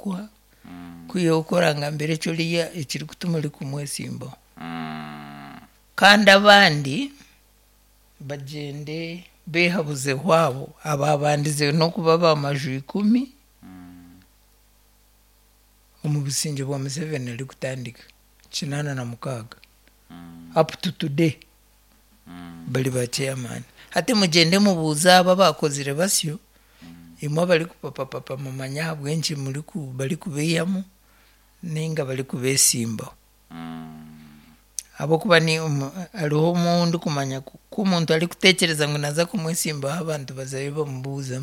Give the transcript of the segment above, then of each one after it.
kukuha kwihaho ku orangambira eki oriya ekirikutuma orikumwesimbaho. Kandi abandi bagyende beehabuzeho abo abaabandize n'okuba baamaju ikumi omu busingye bwa Museveni arikutandika 86 up to today bari ba chairman. Hati mugyende mubuuze abo abaakozire basyo, imwe abarikupapapapa mumanye ahabw'enki barikubeihamu nainga barikubeesimbaho. Ahabw'okuba hariho omu ndikumanya ku omuntu arikuteekyereza ngu naaza kumwesimbaho abantu bazayo bamubuuza,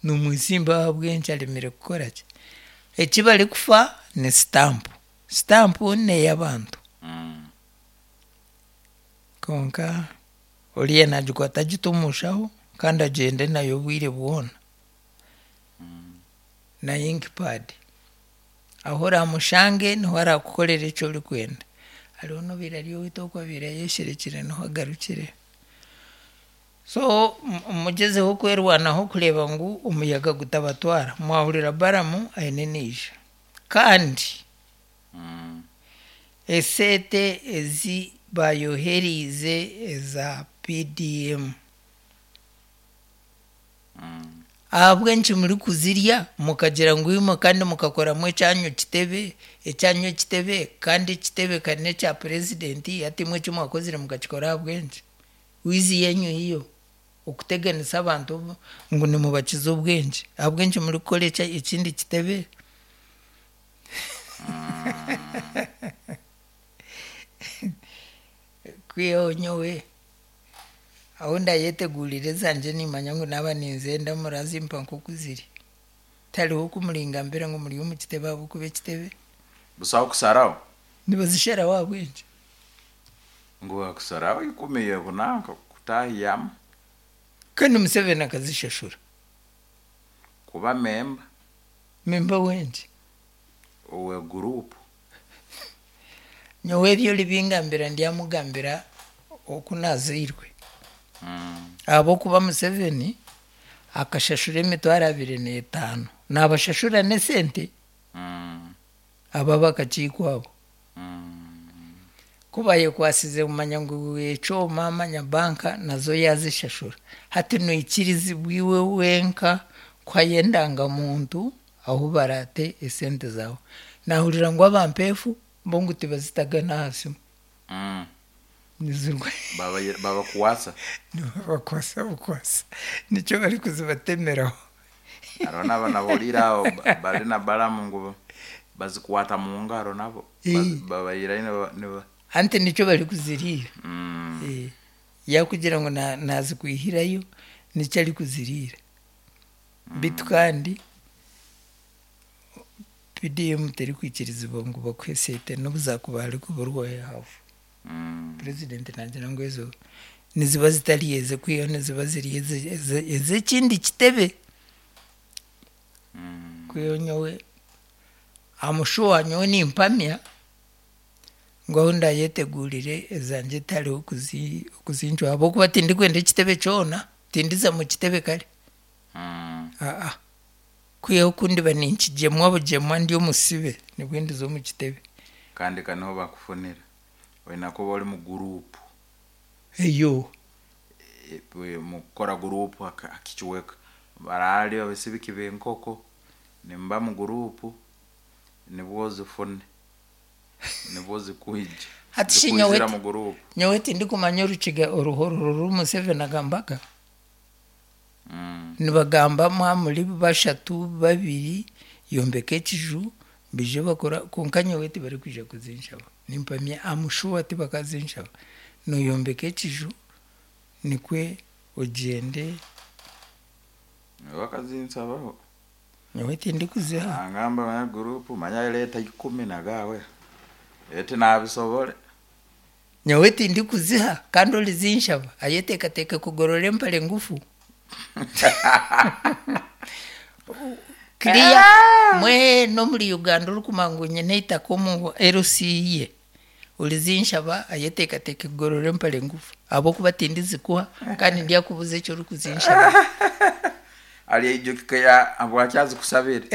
Nomwesimbaho ahabw'enki aremire kukora ki? Eki barikufa ni sitampu. Sitampu n'ey'abantu. Kwonka oriya naagikwata agite omu nshaho kandi agyende nayo obwire bwona. Na ink pad. Ahu oraamushange niho araakukorere eki orikwenda. Hariho n'obaire ari owaitu oku abaire ayesherekire niho agarukire. So mugyezeho kwerwanaho kureeba ngu omuyaga gutabatwara. Mwahurira Balamu aine naija. Kandi esente ezi baayohereize eza PDM, ahabw'enki murikuzirya mukagira ngu imwe kandi mukakoramu ekyanyu kitebe, ekyanyu ekitebe kandi ekitebe kari n'ekya purezidenti hati imwe eki mwakozire mukakikora ahabw'enki? Wizi yenyu hiyo okuteganisa abantu ngu nimubakiza obwengye. Ahabw'enki murikukora ekindi kitebe? Kwihaho nyowe ahu ndayetegurire ezangye nimanya ngu naaba ninzenda murazimpa nk'oku ziri. Tihariho oku muringambira ngu muri omu kitebe ahabw'okuba ekitebe. Busaho kusaraho? Nibazisharaho ahabw'enki? Ngu bakusaraho ikumi yehunanka kutahiyamu. Kandi Museveni akazishashura. Kuba memba. Memba w'enki? Owe gurupu. Nyowe ebi oribingambira ndyamugambira oku nazairwe. Ahabw'okuba Museveni akashashura emitwaro 25. Nabashashura n'esente abo ab'akakiiko abo. Ku bayekwasize kumanya ngu ekyoma manya banka nazo yaazishashura. Hati noikirizibwa iwe wenka kuhayo endangamuntu ahu baraate esente zaawe. Naahurira ngu abampeefu bo ngu tibazitaga n'aha simu. Nizirwa. Babakwasa? Nibabakwasa bukwasa. Nikyo barikuzibatemeraho. Hariho n'abanahuriire aho bari na Balamu ngu bazikwata mu ngaro nabo. Babaihirayo niba. Anti nikyo barikuziriira. Yaakugira ngu naazikwihirayo nikyo arikuziriira. Beitu kandi PDM terikwikirizibwa ngu bakuhe esente n'obu zaakuba harikuburwaho haafu. Purezidenti naagira ngu ezo niziba zitari eze kwihaho niziba ziri ez'ekindi kitebe. Kwihaho nyowe am sure nyowe nimpamya ngu ahu ndaayetegurire ezangye tihariho okuzincwa ahabw'okuba tindikwenda ekitebe kyona, tindiza mu kitebe kare. Aa kwihaho ku ndiba ninkigyemwa bugyemwa ndi omusibe nibwo ndiza omu kitebe. Kandi ka niho bakufunira. Oine kuba ori mu guruupu. Eyo. Mukukora guruupu aha kicweka. Barahari abasibiki b'enkoko nimuba mu guruupu nibwo ozifune. Nibwo zikwija. Hati shi Zikwijira mu guruupu. nyowe tindikumanya orukiga oruhororo oru Museveni agambaga. Nibagamba mwaba muri bashatu, babiri, yombeka ekiju baije bakore kwonka nyowe tibarikwija kuzinshaba. Nimpamya am sure tibakazinshaba. Noyombeka ekiju nikwe ogyende. Nyowe bakazinsabaho. Nyowe tindikuziha. Angamba manya guruupu manya reeta ikumi nagawe. Eti nabisobore. Nyowe tindikuziha kandi orizinshaba ayeteekateeke kugorora empare ngufu. Clear mwena omuri Uganda orikumanya ngu nyine eitaka omu LC ye orizinshaba ayeteekateeke kugorora empare ngufu ahabw'okuba tindizikuha kandi ndyakubuza eki orikuzinshaba. Aryaijukya habwaki azikusabire.